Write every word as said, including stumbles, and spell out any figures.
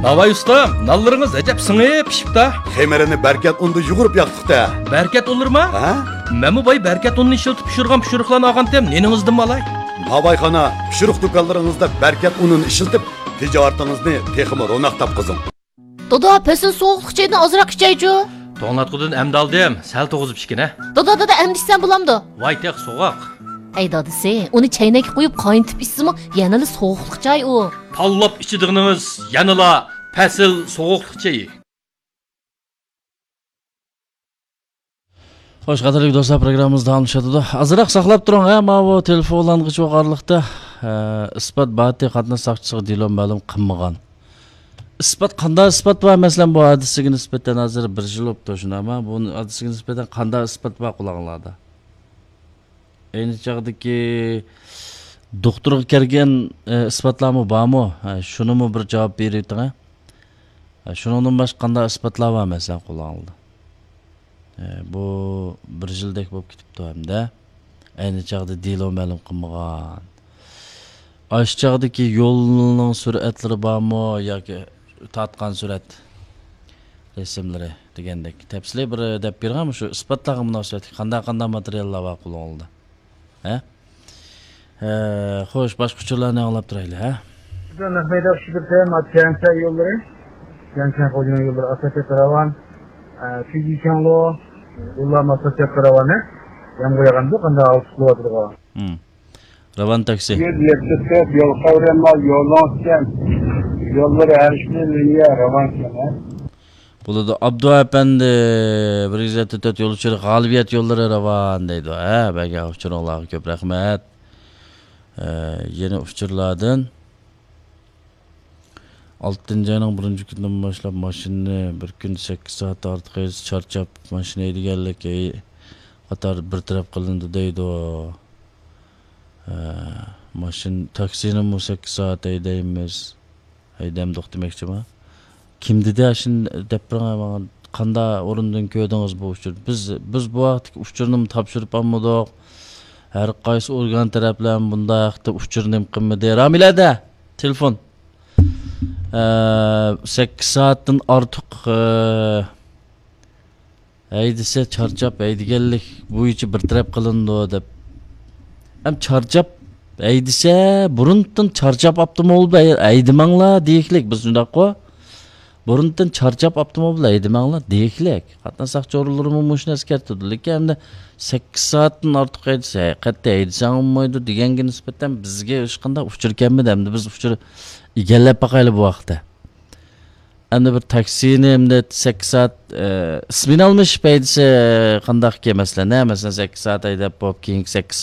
ناۋاي ئۇستام، نانلىرىڭىز ئەجەب سىڭىپ پىشىپتا. خېمىرىنى بەركەت ئۇندا يۇغۇرۇپ ياقتۇق-تە. بەركەت ئۇنلىرىما؟ ھە؟ مەنمۇ باي بەركەت ئۇنىنى ئىشلىتىپ پىشۇرغان پىشۇرۇقلارنى ئالغانتىم، نېنىڭىزدىنمۇ ئالاي؟ ناۋايخانا، پىشۇرۇق دۇكانلىرىڭىزدا بەركەت ئۇنىنى ئىشلىتىپ، تىجارىتىڭىزنى تېخىمۇ روناق تاپقۇزۇڭ. دادا، پەسىل سوغۇقلۇق چايدىن ئازراق ئىچەيچۇ. توڭلاتقۇدىن ئەمدى ئالدىم، سەل توغۇزۇپ ئىچكىنە. دادا، دادا، ئەمدى ئىچسەم بولامدۇ؟ ۋاي تېخى سوغۇق. ھەي دادىسى، ئۇنى چەينەككە قۇيۇپ قاينىتىپ ئىچسىمۇ يەنىلا سوغۇقلۇق چاي ئۇ. تاللاپ ئىچىدىغىنىڭىز يەنىلا پەسىل سوغۇقلۇق چېيى. خوش، قەدىرلىك دوستلار، پروگراممىمىز داۋاملىشىۋاتىدۇ. ئازراق ساقلاپ تۇرۇڭ، ھە، ماۋۇ تېلېفونلانغۇچى ئارىلىقتا، ئە، ئىسپات باتى قاتناش ساقچىسىغا دېلو مەلۇم قىلمىغان. ئىسپات، قانداق ئىسپات بار؟ مەسىلەن، بۇ ھادىسىگە نىسبەتەن ھازىر بىر يىل بوپتۇ، شۇنداقمۇ؟ بۇ ھادىسىگە نىسبەتەن قانداق ئىسپات بار قولۇڭلاردا؟ ئەينى چاغدىكى دوختۇرغا كەلگەن، ئە، ئىسپاتلارمۇ بارمۇ؟ ھە، شۇنىمۇ بىر جاۋاب بېرىۋېتىڭ، ھە. ھە، شۇنىڭدىن باشقا قانداق ئىسپاتلار بار، مەسىلەن، قولۇڭلاردا؟ ئە، بۇ بىر يىلدەك بولۇپ كېتىپتۇ ھەمدە ئەينى چاغدا دېلو مەلۇم قىلمىغان. ئاشۇ چاغدىكى يولنىڭ سۈرئەتلىرى بارمۇ ياكى تارتقان سۈرئەت رەسىملىرى دېگەندەك تەپسىلىي بىر دەپ بېرىڭ، مۇشۇ ئىسپاتلارغا مۇناسىۋەتلىك قانداق، قانداق ماتېرىياللار بار قولۇڭلاردا؟ ھە؟ ھە، خوش، باشقا ئۇچۇرلارنى ئاڭلاپ تۇرايلى، ھە؟ نەق مەيدان ئۇچۇرلىرى، تيەنشەن يوللىرى، تيەنشەن خوجىنىڭ يوللىرى ئاساسىي راۋان، ئە، فىجىچياڭلو يوللار ئاساسىي راۋان، ھە؟ يامغۇر ياغامدۇ، قانداق ئاۋۇتۇپ قىلىۋاتىدىغۇ؟ ھىم. راۋان تاكسى. يۈز يەتتە تۆت يول قاۋرىما يولۇڭ ئىكەن. يوللىرى ھەر ئىككى لىنىيە راۋان ئىكەن، ھە؟ بولىدۇ. ئابدۇ ئەپەندى، بىر يۈز يەتتە تۆت يول ئۇچۇرى غالىبىيەت يوللىرى راۋان دەيدۇ. ھە، بەرگەن ئۇچۇرۇڭلارغا كۆپ رەھمەت. ئە، يەنە ئۇچۇرلاردىن. ئالتىنچى ئاينىڭ بىرىنچى كۈنىدىن باشلاپ ماشىنىنى بىر كۈندە سەككىز سائەت ئارتۇق ھەيدىسە چارچاپ، ماشىنا ھەيدىگەنلىك ھەي-، قاتار بىر تەرەپ قىلىندى دەيدۇ. ھە، ماشىنا، تاكسىنىمۇ سەككىز سائەت ھەيدەيمىز. ھەيدەمدۇق دېمەكچىما؟ كىم دېدى ئاشۇنى دەپ بېرىڭ ماڭا. قانداق ئورۇندىن كۆردىڭىز بۇ ئۇچۇرنى؟ بىز، بىز بۇ ھەقتىكى ئۇچۇرنىمۇ تاپشۇرۇپ ئالمىدۇق. ھەر قايسى ئورگان تەرەپلەرمۇ بۇنداق ھەقتە ئۇچۇر نېمە قىلمىدى. رامىلەدە تېلېفون. ئە، سەككىز سائەتتىن ئارتۇق، ئە، ھەيدىسە چارچاپ ھەيدىگەنلىك بويىچە بىر تەرەپ قىلىنىدۇ دەپ. ئەم چارچاپ ھەيدىسە، بۇرۇندىن چارچاپ ئاپتوموبىل ھەي-، ھەيدىمەڭلار دېيىكلىك، بىز شۇنداققۇ؟ بۇرۇندىن چارچاپ ئاپتوموبىل ھەيدىمەڭلار دېيىكلىك. قاتناش ساقچى ئورۇنلىرىمۇ مۇشۇ نەرسە كەلتۈردى. لېكىن ئەمدى سەككىز سائەتتىن ئارتۇق ھەيدىسە، قەتئىي ھەيدىسەڭ بولمايدۇ دېگەنگە نىسبەتەن بىزگە ھېچقانداق ئۇچۇر كەلمىدى. ئەمدى بىز ئۇچۇر ئىگىلەپ باقايلى بۇ ھەقتە. ئەمدى بىر تاكسىنى ئەمدى سەككىز سائەت، ئە، ئىسمىنى ئالمىشىپ ھەيدىسە قانداقكەن مەسىلەن، ھە؟ مەسىلەن، سەككىز سائەت ھەيدەپ بولۇپ، كېيىنكى سەككىز